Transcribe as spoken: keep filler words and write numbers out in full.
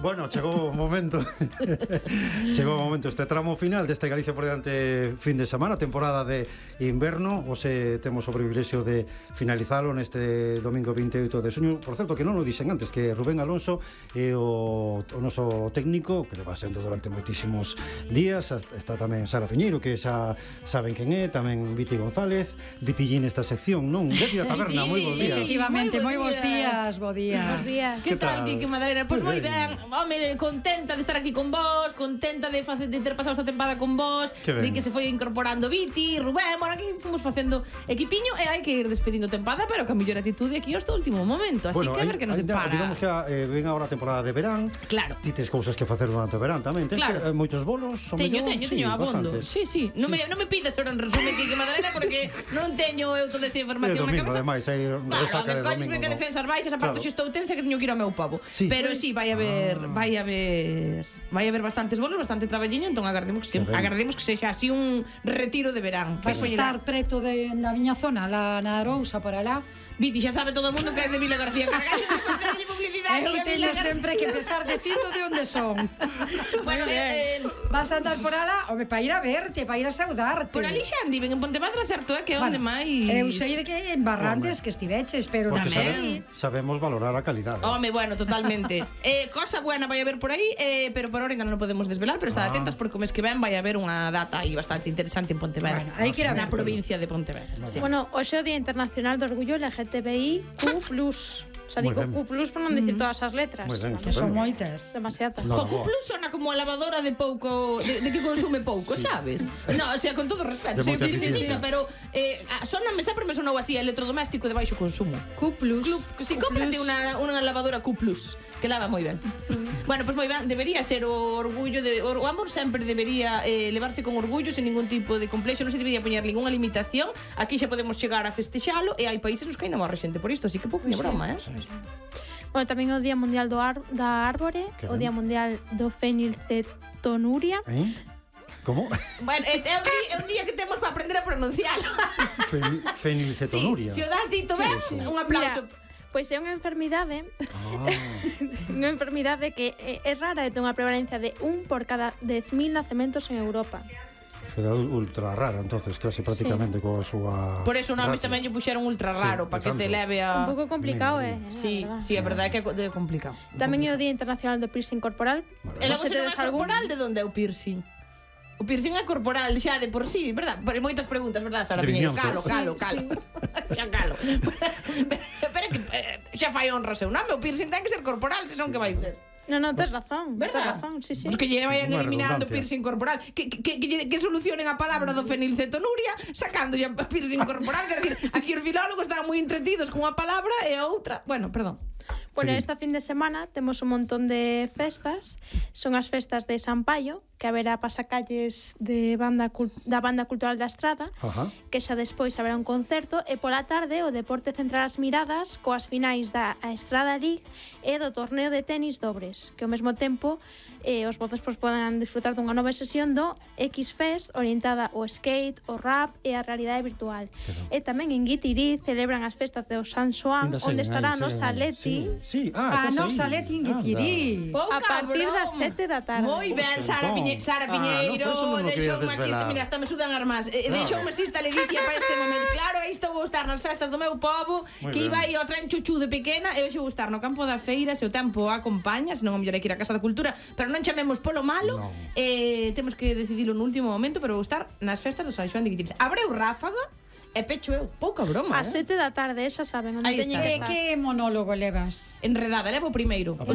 Bueno, chegou o momento Chegou o momento este tramo final deste Galicia por diante fin de semana, temporada de inverno. Hoxe temos o privilexio de finalizalo neste domingo vinte e oito de xuño. Por certo, que non o dixen antes, que Rubén Alonso é o, o noso técnico, que leva sendo durante moitísimos días. Está tamén Sara Piñeiro, que xa saben quen é, tamén Viti González, Vitillín esta sección, non? Viti da Taberna, moi bons días. Efectivamente, moi bons días, bo día. Bos días. Que tal, Kike Madeira? Pois moi ben. Home, contenta de estar aquí con vos, contenta de, facer, de ter pasado esta tempada con vos, de que se foi incorporando Viti, Rubén, bueno, aquí fomos facendo equipiño e hai que ir despedindo tempada, pero ca mellor atitude aquí hasta o último momento, así bueno, que a ver que nos separa. Digamos que eh, ven agora a temporada de verán. Claro. Ti tes cousas que facer durante o verán tamén. Tens claro. eh, moitos bolos? Teño, teño, sí, teño abondo. Bastantes. Sí, sí, non sí. me, non me pidas ahora un resumen Kike Madeira porque non teño eu toda esa información na cabeza. Ademais, hai resaca de domingo. Claro, que defensas baixas, aparte claro. Estou tensa que teño que ir ao meu pobo. Sí. Pero sí, vai haber, ah. vai haber, vai haber bastantes bolos, bastante traballiño, entón agardemos que, que agardemos que sexa así un retiro de verán. Vais estar preto de, da miña zona, la, na Arousa, por alá. Viti, xa sabe todo o mundo que és de Vila García. Cargaxe de facerlle publicidade. Eu teño sempre que empezar dicindo de onde son. Bueno, eh, vas a andar por alá, home, para ir a verte, para ir a saudarte. Por ali xa andiven en Pontevedra, certo é que onde bueno, máis. Eu sei de que en Barrantes que estiveches, pero porque tamén sabemos valorar a calidade. Home, bueno, totalmente. eh, cosa buena vai haber por aí, eh, pero por ahora ainda non podemos desvelar, pero estad ah. atentas porque o mes que ven vai haber unha data aí bastante interesante en Pontevedra. Bueno, hai que ir a ver na provincia de Pontevedra. Sí. Bueno, hoxe é o Día Internacional do Orgullo L G T B I Q plus. O sea, digo Q plus por non dicir todas as letras. Muy ben, que son moitas. Demasiadas. No, Jo, Q plus sona como a lavadora de pouco, de, de que consume pouco, sí. sabes? No, o sea, con todo respeto, de sí, sí, sí, pero eh, soname, sempre me sonou así, electrodoméstico de baixo consumo. Q plus. Club, si cómprate unha, unha lavadora Q plus, que lava moi ben. Bueno, pois pues moi ben, debería ser o orgullo de o amor sempre debería eh, levarse con orgullo sen ningún tipo de complexo, non se debería poñer ninguna limitación. Aquí xa podemos chegar a festexalo e hai países nos que ainda morre xente por isto, así que pouco ni broma, eh. Bueno, tamén é o Día Mundial do Ar da Árbore, o Día Mundial do Fenilcetonuria. Eh? Como? Bueno, é, é, un día, é un día que temos para aprender a pronuncialo. Fenilcetonuria. Sí, se o das dito ben, un aplauso. Mira, pois é unha enfermidade ah. unha enfermidade que é, é rara e ten unha prevalencia de un por cada dez mil nacementos en Europa. Foi ultra rara, entonces, case prácticamente sí. coa súa... Por eso, non, a mí tamén lle puxeron ultra raro, sí, para que te leve a... Un pouco complicado, eh? Sí, sí, a verdade é que é complicado. Tamén é o Día Internacional do Piercing Corporal. E logo se non é corporal, de onde é o piercing? O piercing é corporal xa de por sí, verdad? Por moitas preguntas, verdad, Sara Piñeiro? Calo, calo, calo. Xa calo. Pero que xa fai honra seu nome, o piercing ten que ser corporal, senón que vai ser. No, no, tes razón, verdad? Tes razón, sí, sí. Pues que lle vayan eliminando piercing corporal, que, que, que, que solucionen a palabra do fenilcetonuria sacando ya piercing corporal, quer decir, aquí os filólogos estaban moi entretidos con unha palabra e a outra, bueno, perdón. Bueno, esta fin de semana temos un montón de festas. Son as festas de San Paio, que haberá pasacalles de banda da Banda Cultural da Estrada, Ajá. que xa despois haberá un concerto, e pola tarde o Deporte Central as Miradas coas finais da Estrada League e do torneo de tenis dobres, que ao mesmo tempo eh, os votos pois, podan disfrutar dunha nova sesión do X-Fest orientada ao skate, ao rap e á realidade virtual. Pero... E tamén en Guitirí celebran as festas do San Xoán, onde estará a nosa Leti. Sí, ah, a nosa Leti en Guitirí. A partir das sete da tarde. Moi ben, Sara Piñeiro. Sara Piñeiro, ah, no, deixoume aquí, mira, hasta me sudan as mans. Eh, deixoume esta ledicia para este momento. Claro, aí estou vou estar nas festas do meu pobo, muy que iba aí ao tren chuchu de pequena, e hoxe vou estar no campo da feira, se o tempo acompaña, senón o mellor hai que ir á Casa da Cultura, pero non chamemos polo malo, no. eh, temos que decidilo no último momento, pero vou estar nas festas do San Xoán de Guitirí. Abreu ráfaga, e pecho eu, pouca broma, a sete da tarde, xa saben onde teñen que estar. Que monólogo levas? Enredada, levo o primeiro.